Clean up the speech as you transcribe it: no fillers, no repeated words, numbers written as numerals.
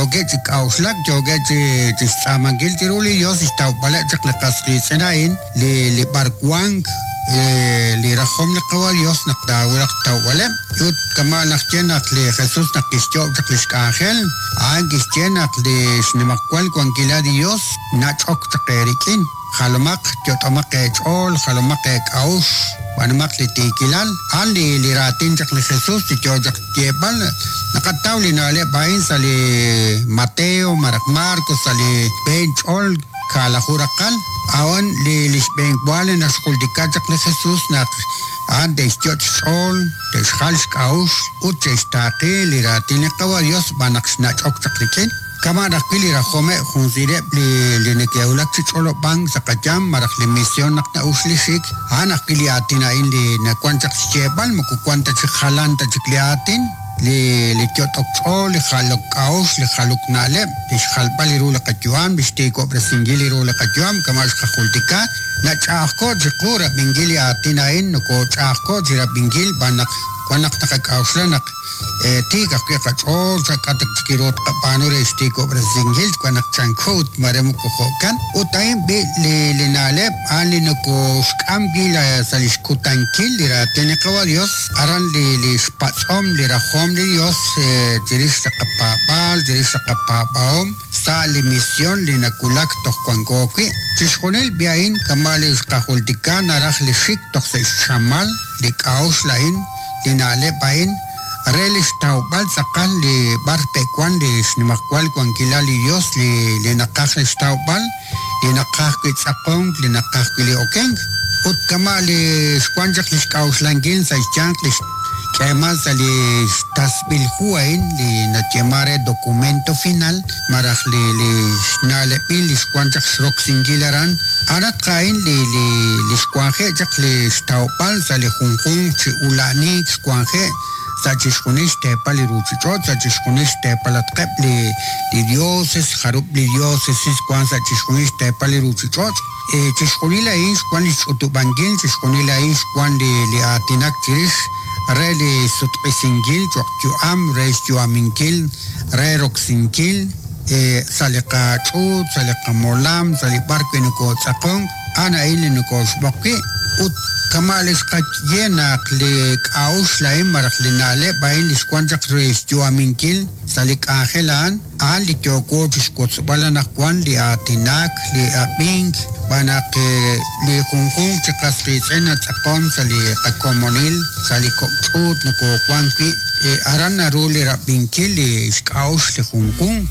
Yookeb' chi k'a'uxlak, yookeb' chi chi xtz'aamankil chiru li Yos xtawb'aleb' chaq li qas qiitz'in a'in li li b'arwank li rajom li Qawa' Yos naq taawulaq xtawb'aleb'. Ut kama' naxye naq li Jesús naq kixyoob' chaq li xk'anjel, a'an kixye naq li xnimajwal wankilal li Yos nach'ok chaq eerik'in. Jalomaq, yot'omaq eech'ool, jalomaq eek'a'uxl, b'aanumaq li tiikilal. A'an li li raatin chaq li Jesús li yo chaq xyeeb'al. Naqataw li na'leb' a'in sa' li Mateo malaj Marcos sa' li xb'een ch'ol kaalaju raqal. A'an li li xb'een wa li naxjultika chaq li Jesús naq a'an te'xyot' xch'ool, te'xjal xk'a'uxl ut che'xtaaqi li raatin li Qawa' Dios xb'aan naq xnach'ok chaq rik'in. Kama'an ajwi' li rajomeb' junsileb' li li neke'wulak chi ch'olob'ank sa' qayam malaj li mision naq na'ux li xik, a'an ajwi' li aatin a'in li nawan chaq xyeeb'al, moko wan ta chik jalan ta chik li aatin, li li yot'ok ch'ool, li jalok k'a'uxl, li jalok na'leb', li xjalb'al li ru li qayu'am, li xtiikob'resinkil li ru li qayu'am, kama' xqajultika, nach'a'ajko' chiqu rab'inkil li aatin a'in, nokoch'a'ajko' chi rab'inkil xb'aan naq wan naq naqak'a'uxla naq Tiik ajwi' qach'ool, sa' k'a' ta chik ru tqab'aanu re xtiikob'resinkil, xb'aan naq chanko ut mare moko jo'kan. Ut a'in b'i' li li na'leb' a'an li nokooxk'am wi' sa' li xkutankil li raatin li Qawa' Yos, aran li li xpatz'om li rajom li Yos chirix li qapaab'aal, chirix li qapaab'ahom sa' li mision li nawulak toj wanko wi'. Chixjunil b'i' a'in kama' li xqajultika naraj li xik toj sa' xchamal li k'a'uxl a'in, li na'leb' a'in re li xtawb'al tz'aqal li b'ar te'wan li xnimajwal wankilal li Yos li li naqaj li xtawb'al, li naqaj wi' tz'aqonk, li naqaj wi' li okenk. Ut kama' li xwan chaq li xk'a'uxlankil sa' xyanq li xk'eeman sa' li xtasb'il hu a'in li nayeeman re documento final malaj li li xna'leb'il li xwan chaq xroksinkil aran, A'anatq a'in li li li xwanje' chaq li xtawb'al sa' li junjunq chi ula'aniik xwanje' sa' chixjunil xteepal li ruuchich'och', sa' chixjunil xteepalatqeb' li li dioses, jarub' li diosesis wank sa' chixjunil xteepal li ruuchich'och'. Chixjunil a'in xwan li xch'utub'ankil, chixjunil a'in xwan li li aatinak chirix re li sutq'isinkil cho'q yu'am, re xyu'aminkil, re roksinkil. Sa' li qach'uut, sa' li qamolam, sa' li b'ar wi' nokootz'aqonk, a'an a'in li nokooxb'oq wi'. Ut kama' li xqaye naq li k'a'uxl a'in malaj li na'leb' a'in li xwank chaq re xyu'aminkil sa' li k'anjel a'an, a'an li yooko chi xwotzb'al anaqwan, li aatinak, li ab'ink, xb'aan naq li junjunq chi qas qiitz'in natz'aqon sa' li qakomonil, sa' li kok' ch'uut nokoowank wi'. Aran naru li rab'inkil li xk'a'uxl li junjunq.